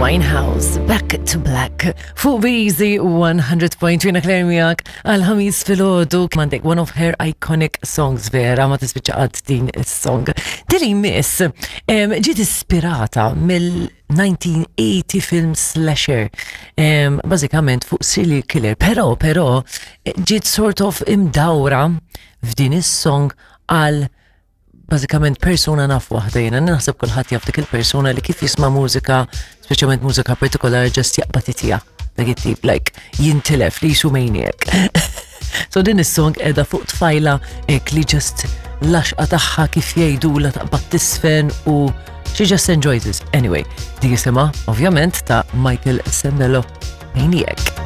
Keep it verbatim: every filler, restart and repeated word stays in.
Winehouse, Back to Black, fuq B-Easy one hundred point three, Claire miegħek għal Ħamis filgħodu. Għandek one of her iconic songs, vera, ma tispiċċa qatt din is-song. Din miss em, ġiet ispirata mill-nineteen eighty film slasher, em, bażikament fuq serial killer, però, però, ġiet sort of imdawra f'din is-song għal bażikament persuna naf waħda jiena, naħseb kulħadd jaf dik il-persuna li kif jisma' mużika, speċjalment mużika partikolari, just jaqbad itija. Dak it-tip, like, jintilef li jisu maniac. So din is-song qiegħda fuq tfajla ek li just l-għaxqa tagħha, kif jgħidu, la taqbad tisfen u she just enjoys it. Anyway, di jisimha ovvjament ta' Michael Sembello, Maniac.